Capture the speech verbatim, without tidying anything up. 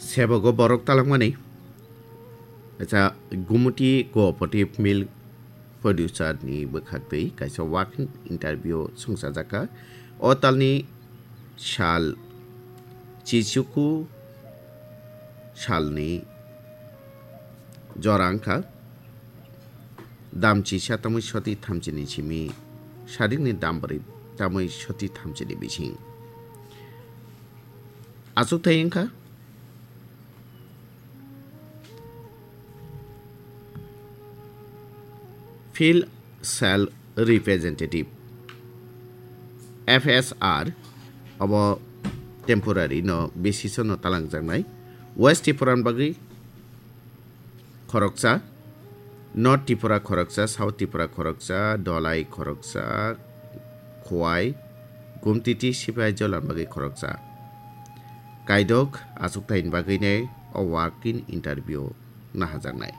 Sebogo borok talangmani. Acha, Gumuti Cooperative Milk Producer ni bwkhaktwi kaisa walk-in interview songchajakha. O talni sal chichuku salni jora wngkha dam chisa tamwi soti thamchini simi, sadikni dam bwrwi tamwi soti thamchini bising. Achukthai wngkha Field Sales Representative, F S R, abo temporary no basis no talangjaknai. West Tripura ni bagwi khoroksa, North Tripura khoroksa, South Tripura khoroksa, Dholai khoroksa, Khowai, Gumtiti, Sipaijala ni bagwi khoroksa. Kaidok achukthai ni bagwi nai o walk-in interview nahajaknai.